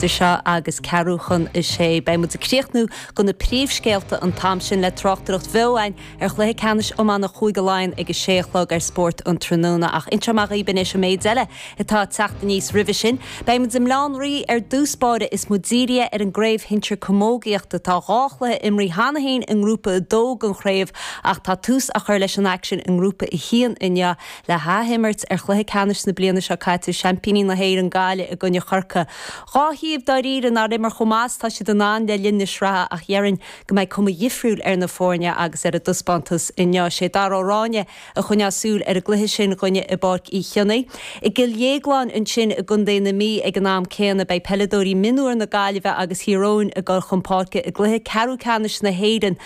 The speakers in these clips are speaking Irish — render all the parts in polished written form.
Idir seo agus ceathrú chun a sé, beidh muid ag críochnú go na príomhscéalta an t-am sin le tráchtaireacht bheo againn ar chluiche ceannais iomána Chúige Laighean ag a sé a chlog ar Spórt an Tráthnóna. Ach inseoidh mé dhaoibh anois an méid eile atá ag teacht aníos roimhe sin. Beidh muid i mBleá an Rí ar dtús báire is muid dírithe ar an gcraobh shinsir camógaíochta. Tá 2 chluiche imrithe cheana féin i nGrúpa 2 den chraobh ach tá tús á chur leis an aicsean i nGrúpa 1 inniu. Le hathimirt ar chluiche ceannais na bliana seo caite, seaimpíní na hÉireann, Gaillimh i gcoinne Chorcaí. 2 thaobh dáiríre nár imir chomh maith is tá siad in ann le linn na sraithe ach dhéarfainn go mbeidh cuma dhifriúil ar na foirne agus ar a dtaispeántas inniu. Sé Dara Ó Ráinne a choinneos súil ar an gcluiche sin dhúinne i bPáirc Uí Chionnaith. I gCill Dhéagláin ansin i gContae na Mí ag an am céanna beidh peileadóirí mionúir na Gaillimhe agus Thír Eoghain ag dul chun páirce i gcluiche ceathrú ceannais na hÉireann.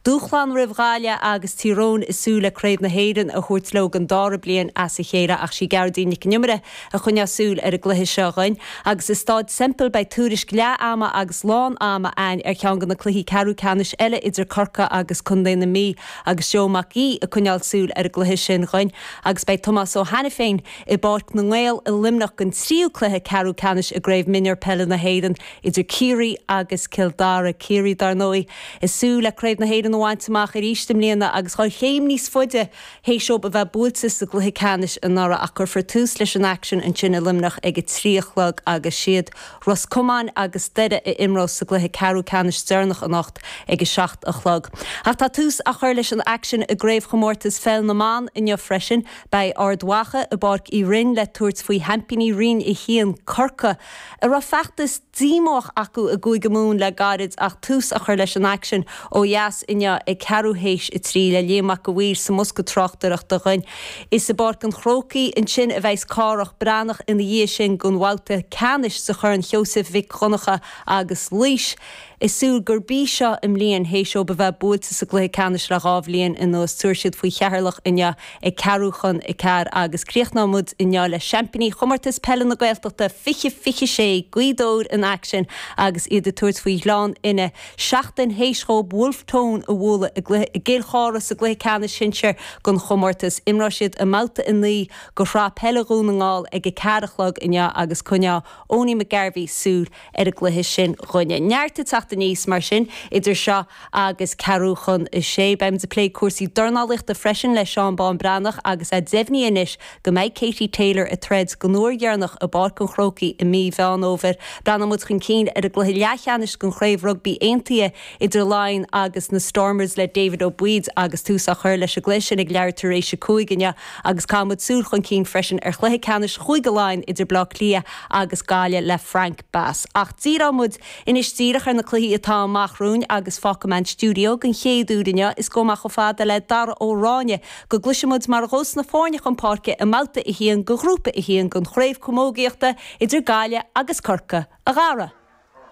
Dúshlán roimh Ghaillimh agus Tír Eoghain ag súil le Craobh na hÉireann a thabhairt leo don dara bliain as a chéile ach sí Gearóidín Nic an Iomaire a choinneos súil ar an gcluiche seo dhuinn. Agus i Stáid Semple beidh tuairisc leath ama agus lán ama a'ainn ar cheann de na cluichí ceathrú ceannais eile idir Corcaigh agus Contae na Mí agus Joe Mac Aoidh ag coinneáil súil ar an gcluiche sin dhuinn agus beidh Tomás Ó hAiniféin i bPáirc na nGael i Luimneach don tríú cluiche ceathrú ceannais i gCraobh Mionúr Peile na hÉireann idir Ciarraí agus Cill Dara. Ciarraí, dar ndóigh, ag súil le Craobh na hÉireann a bhaint amach arís i mbliana agus dhul chéim níos faide théis dóibh a bheith buailte sa gcluiche ceannais anuraidh ach cuirfear tús leis an aicsean ansin i Luimneach ag a 3 a chlog agus siad Ros Comáin agus Doire a imreos sa gcluiche ceathrú ceannais deireanach anocht ag a 7 a chlog. Ach tá tús á chur leis an aicsean i gCraobhchomórtas Pheil na mBan inniu freisin. Beidh Ard Mhacha i bPáirc Uí Rinn le tabhairt faoi sheaimpíní Roinn 1, Corcaigh, a raibh feachtas díomách acu i gCúige Mumhan le gairid ach tús á chur leis an aicsean ó dheas inniu ag ceathrú théis a 3 le Liam Mac a' Mhaoir sa mbosca tráchtaireachta dhuinn. Is i bPáirc an Chrócaigh ansin a bheas Cárthach Breathnach ina dhiaidh sin don bhabhta ceannais de Chorn Sheosaimh Mhic Dhonncha agus Laois. Ag súil gurb í seo a mbliain théis dóibh a bheith buailte sa gcluiche ceannais le 2 bhliain anuas. Tabharfaidh siad faoi Cheatharlach inniu ag ceathrú chun a ceathair agus críochnóidh muid inniu le seaimpíní Chomórtas Peile na Gaeltachta 2026, Gaoth Dobhair in aicsean agus iad ag tabhairt faoi Ghleann Fhinne seachtain théis dhóibh Wolfe Tone a bhualadh i gcluiche i gCill Chartha sa gcluiche ceannais sinsir den chomórtas. Imreoidh siad i mbabhta 9 de Shraith Peile Dhún na nGall ag a ceathair a chlog inniu agus coinneoidh Owenie McGarvey súil ar an gcluiche sin dhúinne. Neart ag teacht aníos mar sin idir seo agus ceathrú chun a sé. Beimid ag plé cúrsaí dornálaíochta freisin le Seán Bán Breathnach agus é deimhnithe anois go mbeidh Katie Taylor ag troid don uair dheireanach i bPáirc an Chrócaigh i mí Mheán Fhómhair. Breathnóidh muid chun cinn ar an gcluiche leathcheannais den Chraobh Rugbaí Aontaithe idir Laighin agus na Stormers le David Ó Baoid agus tús á chur leis an gcluiche sin ag leathuair tar éis a 5 inniu agus caithfidh muid súil chun cinn freisin ar chluiche ceannais Chúige Laighean idir Bleá Cliath agus Gaillimh le Frank Bass. Ach díreoidh muid anois díreach ar na cluichí atá amach romhainn agus fágfaidh mé an stiúideo den chéad uair inniu is gabhfaidh mé chomh fada le Dara Ó Ráinne go gcloisfidh muid mar a ghabhfas na foirne chun páirce i mbabhta 1 de Ghrúpa 1 den Chraobh Camógaíochta idir Gaillimh agus Corcaigh. A Dhara!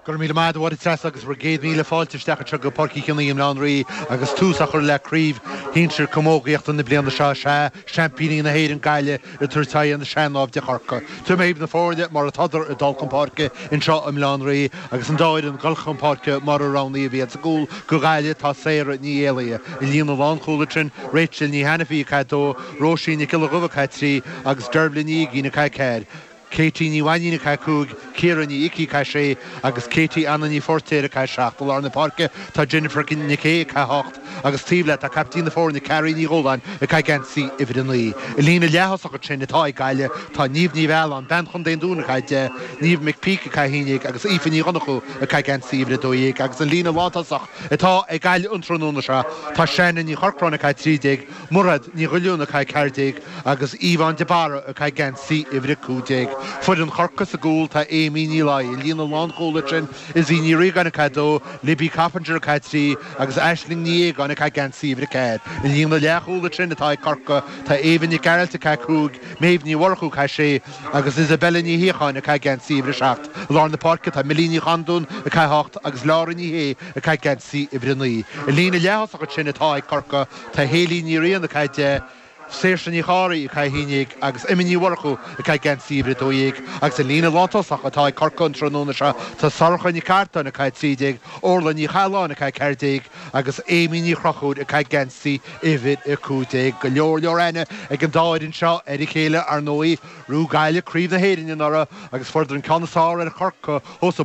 Go raibh míle maith agat a Mháire Treasa agus bhur gcéad míle fáilte isteach anseo go Páirc Uí Chionnaith i mBleá an Rí agus tús á chur le Craobh Shinsir Camógaíochta na bliana seo. Sea, seaimpíní na hÉireann, Gaillimh, ag tabhairt aghaidh ar na sean-naimhde Corcaigh. Tabharfaidh mé dhaoibh na foirne mar atádar ag dul chun páirce anseo i mBleá an Rí agus an dá fhoireann ag dul chun páirce mar a roghnaíodh iad. Sa gcúl do Ghaillimh tá Sarah Ní Éalaithe. I líne lánchúil ansin, Rachel Ní Hainifí ag caitheamh 2, Róisín Nic Giolla Dhuibh ag caitheamh 3 agus Dervla Ní Uigín ag caitheamh 4. Katie Ní Mhainín ag caitheamh 5, Ciara Ní Icí ag caitheamh 6 agus Katie Anna Ní Phóirtéir ag caitheamh 7. I lár na páirce tá Jennifer Nic Aoidh ag caitheamh 8 agus taobh léi tá caiptín na foirne Carrie Ní Dhúláin ag caitheamh geansaí uimhir 9. I líne leath-thosach ansin atá ag Gaillimh tá Niamh Ní Mhealláin, bean Chontae an Dúin ag caitheamh 10, Niamh McPeak ag caitheamh 11 agus Aoife Ní Dhonnchú ag caitheamh geansaí uimhir 12 agus an líne lántosach atá ag Gaillimh an tráthnóna seo tá Shannon Ní Chorcráin ag caitheamh 13, Mairéad Ní Dhuilliúin ag caitheamh 14 agus Yvonne de Barra ag caitheamh geansaí uimhir 15. Foireann Chorcaí sa gcúl tá Amy Ní Laoi, i líne lánchúil ansin Izzy Ní Riagáin ag caitheamh 2, Libby Coppinger ag caitheamh 3 agus Aisling Ní Aogáin ag caitheamh geansaí uimhir 4. I líne leathchúil ansin atá ag Corcaigh tá Éabha Nic Gearailt ag caitheamh 5, Méabh Ní Mhurchú ag caitheamh 6 agus Isabella Ní Shíocháin ag caitheamh geansaí uimhir 7. I lár na páirce tá Millie Ní Chandúin ag caitheamh 8 agus Laura Ní Shé ag caitheamh geansaí uimhir 9. I líne leath-thosach ansin atá ag Corcaigh Tá Hayley Ní Riain ag caitheamh 10, Saoirse Ní Chárthaigh ag caitheamh 11 agus Emma Ní Mhurchú ag caitheamh geansaí uimhir 12. Agus an líne lántosach atá ag Corcaigh an tráthnóna seo, tá Sorcha Nic Artáin ag caitheamh 13, Orla Ní Chathalláin ag caitheamh 14 agus Amy Ní Chonchúir ag caitheamh geansaí uimhir 15. Go leor leor aithne ag an dá fhoireann seo ar a chéile, ar ndóigh. Ghnóthaigh Gaillimh Craobh na hÉireann anuraidh agus fuaireadar an ceann is fearr ar Chorcaigh thuas i.